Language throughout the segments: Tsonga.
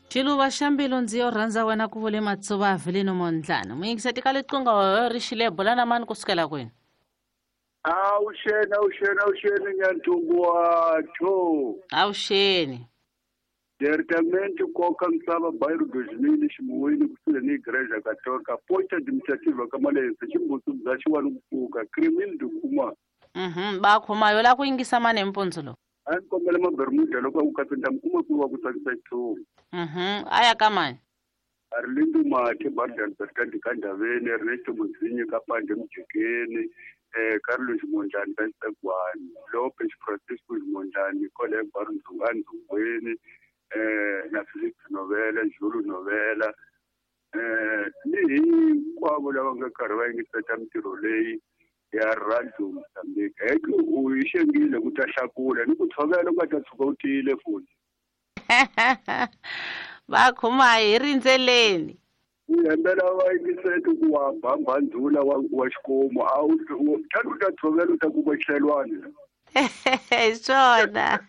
Xiluva xa mbilu ndzi yo rhandza wena ku vule Matsuva Avelino Mondlane. Muyingiseti ka liqunga ri xile bula na mani kusukela kwini? Awuxeni, awuxeni, awuxeni Nyanthungu wa tho. Awuxeni. Diretamente koka misava bairro 2000 ximuwini kusuhi ni Igreja Católica posta administrativa ka Malense ximbusu bya xiwani ku pfuka Crimil de Kuma. Ba khoma yo la ku yingisa mani mpundzu lowu. A ni kombela mabermuda loko a ku katsa ni kuma ku wa ku tsakisa xithumu. A ya ka mani? Arlindo Mathe Bardan Bertrand ka Ndaveni Ernesto Muzinyi ka Pande Mujekeni Carlos Mondlane ka Xitsegwani Lopez Francisco Mondlane kwale Barundzunga Ndzungweni na Felix Novela Julu Novela ni hinkwavo lava nga karhi va yingiseta mintirho leyi ya Radio Mozambique. Heke u yi xengile ku ta hlakula ni ku tshovela u nga ta tshuka u tiyile futhi. Va khoma hi rindzeleni. U hembela va yingiseti ku wa bamba ndzula wa xikomu a wu tlhela u ta tshovela u ta kuma xihlelwana. Hi swona.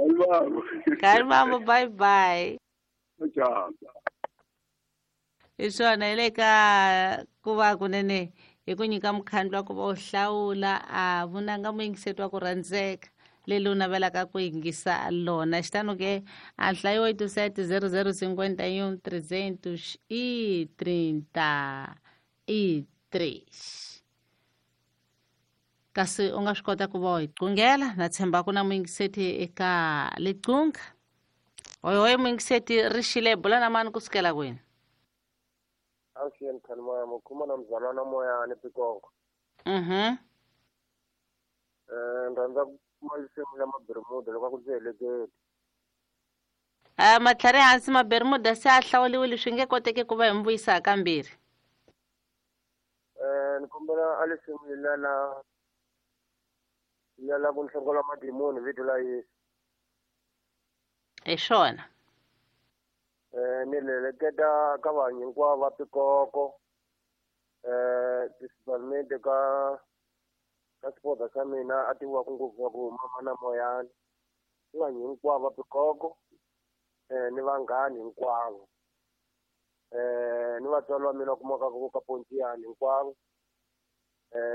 Kalmambo. Kalmambo, bye bye. Ciao. Hi swona hi le ka ku va kunene hi ku nyika mukhandlu wa ku va u hlawula a vunanga muyingiseti wa ku rhandzeka leli u navelaka ku yingisa lona. Xitano ke a nhlayo 87 00 51 333. Kasi u nga swi kota ku va u hi qungela na tshemba ku na muyingiseti eka liqunga. Hoyi muyingiseti ri xile bula na mani kusukela kwini? Awuxeni Khanimamo, khuma na mzalwana Moyani Pikongo. Ni rhandza ku kuma risimu la Mabermuda loko a ku ndzi heleketi. Matlhari hansi Mabermuda se a hlawuriwile swi nge koteki ku va hi mi vuyisa kambirhi. Ni kombela a risimu la ku nhlongola madimoni vito la Yesu. Hi swona. Ni leleketa ka vanhu hinkwavo va Pikoko, principalmente ka xipota xa mina a tiviwaka ngopfu wa ku mama na Moyani. Ni vanhu hinkwavo va Pikoko, ni vanghani hinkwavo. Ni vatswari va mina kumaka ku ka Pontiyani hinkwavo,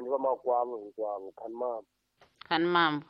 ni vamakwavo hinkwavo. Khanimambo. Khanimambo.